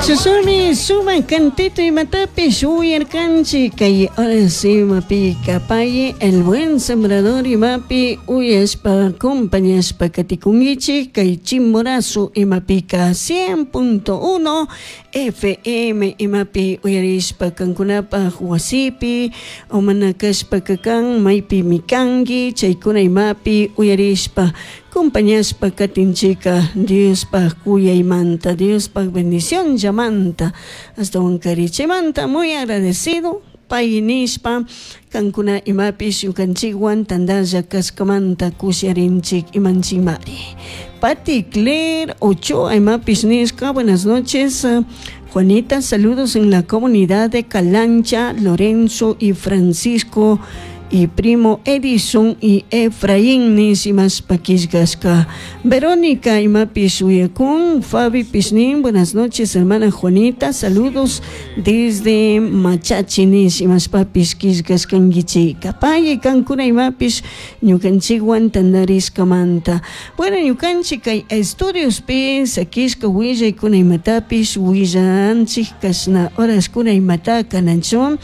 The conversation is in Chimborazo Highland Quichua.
Chashami sumak cantito imatapish uyarkanchik kay horas imapi kapay El Buen Sembrador imapi uyashpa acompañashpa katikunkichik kay Chimborazo imapika 100.1 FM imapi uyarishpa kankunapaj wasipi o mana kashpaka kan maypimi kanki chaykuna imapi uyarishpa acompañashpa katinchika Diospaj kuyaymanta, Diospaj bendición llamanta ashtawankari chaymanta muy agradecido pay nishpa kankuna imapish ñukanchikwan tandalla kashkamanta kusharinchik imanchikmari. Pati Claire Ochoa imapish nishka, buenas noches, Juanita, saludos en la comunidad de Calancha, Lorenzo y Francisco y primo Edison y Efraín nishimashpa killkashka. Verónica imapish uyakun, Fabi Pishnin, buenas noches, hermana Juanita, saludos desde Machachi nishimashpapish killkashkankichik. Pay kankuna imapish ñukanchikwan tandarishkamanta. Bueno, ñukanchik kay estudiospi sakishka willaykuna imatapish willanchik kashna horaskuna imata kananchun.